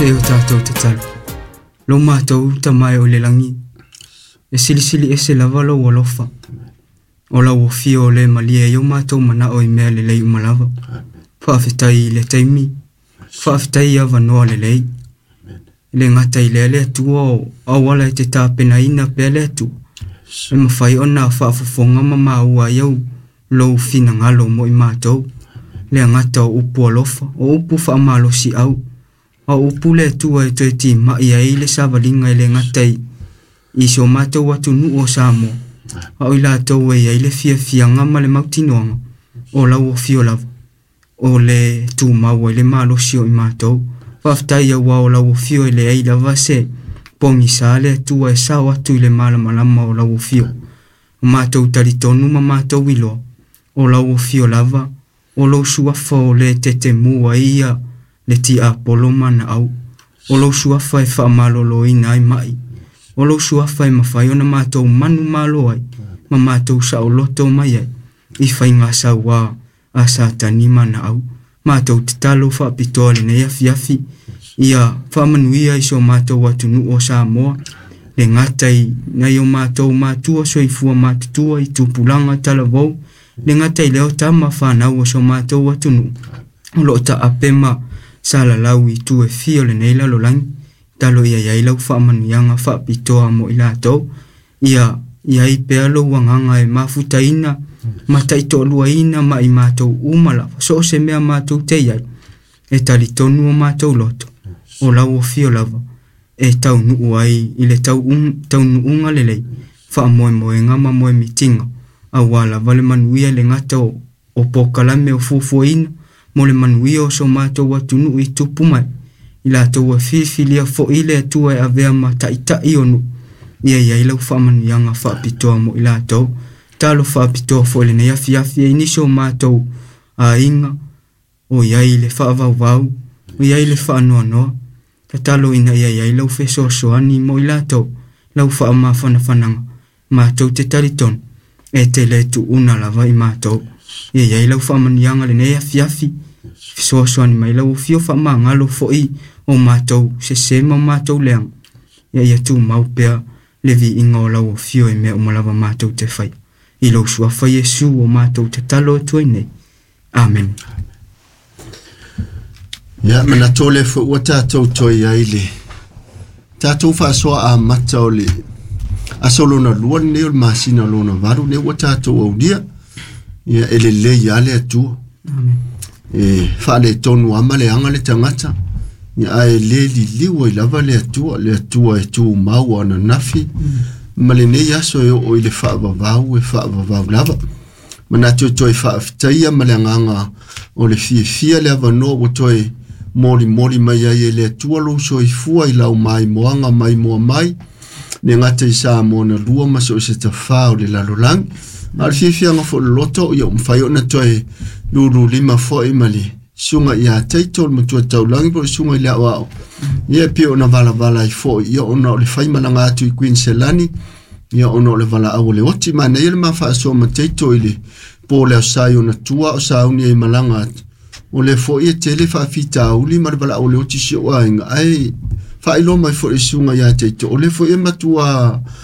E o tatou tatalo. Lo matou tamae o le lagi, e silisili ese lava lou alofa. O lau afio o le malie ai o matou manao i mea lelei uma lava. Faafetai i le taimi, faafetai i avanoa lelei. E le gata i lea le Atua o auala e te tapenaina pea le Atua, e mafai ona faafofoga ma maua ai au lou finagalo mo i matou. Le agata o upu alofa, o upu faamalosiau, a o upu le Atua e toe timai ai le savaliga e le gata i so matou atunuu o Samoa, a o i latou e i ai le fiafiaga ma le mautinoaga o lau afio lava, o le tumau ai le malosi o i matou. Faafetai aua o lau afio e leai lava se pogisa le Atua e sao atu i le malamalama o lau afio. O matou talitonu ma matou iloa, o lau afio lava, o lou suafa o le tetemu ai ia le tiapolo ma naau. O lou suafa e faamaloloina ai mai. O lou suafa e mafai ona matou manumalo ai, ma matou saoloto mai ai, i faiga sauā a Satani ma naau. Matou tatalo faapitoa lenei afiafi, ia faamanuia i so matou atunuu o Samoa, le gata i nai o matou matua soifua matutua i tupulaga talavou, le gata i lea o tama fanau o so matou atunuu, o loo taape ma salalau i itu e fia o lenei lalolagi. Talo ia i ai lau faamanuiaga faapitoa mo i latou, ia i ai pea lou agaga e mafutaina ma taitoaluaina ma i matou uma lava, so o se mea matou te i ai, e talitonu o matou loto, o lau afio lava, e taunuu ai i le taunuuga lelei, faamoemoega ma moemitiga, aua lava le manuia le gata o polokalame o fuafuaina, mo le manuia o so matou atunuu i tupu mai, i latou e filifilia foi le Atua e avea ma taitai o nuu, ia i ai lau faamanuiaga faapitoa mo i latou. Talo faapitoa foi lenei afiafi ai nisi o matou aiga, o i ai le faavauvau, o i ai le faanoanoa, tatalo ina ia i ai lau fesoasoani mo i latou, lau faamafanafanaga, matou te talitonu, e te le tuuna lava i matou. Ia i ai lau faamanuiaga lenei afiafi, fesoasoani mai lau afio faamagalo foi o matou sese ma matou leaga, ia ia tumau pea le viiga o lau afio i mea uma lava matou te fai. I lou suafa Iesu o matou tatalo atu ai nei. Amen. Ia, manatu o lea foi ua tatou toe i ai le tatou faasoa amata o le aso lona lua lenei o le masina lona valu lea ua tatou aulia. Ia, e lelei lava le Atua. Amen. E faaletonu lava ma leaga le tagata, ia, ae le liliu ai lava le Atua, le Atua e tumau ananafi ma lenei aso e oo i le faavavau e faavavau lava. Manatu e toe faafetaia ma le agaga o le fiafia le avanoa ua toe molimoli mai ai e le Atua lou soifua i lau maimoaga maimoa mai, le gata i Samoa na lua ma so o se tafā o le lalolagi. A o le fiafiaga foi o le loto, ia ua mafai ona toe lululima foi ma le susuga ia Taito le matua taulagi po o le susuga i le aoao. Ia e pei ona valavala ai foi, ia ona o le faimalaga atu i Queensland, ia ona o le valaau o le oti. Manaia le ma faasoa ma Taito i le po o le aso Sa i ona tua o sauni ai malaga atu. O lea foi e tele faafitauli ma le valaau o le oti si ou aiga, ae faailoa mai foi i le susuga ia Taito, o lea foi e matua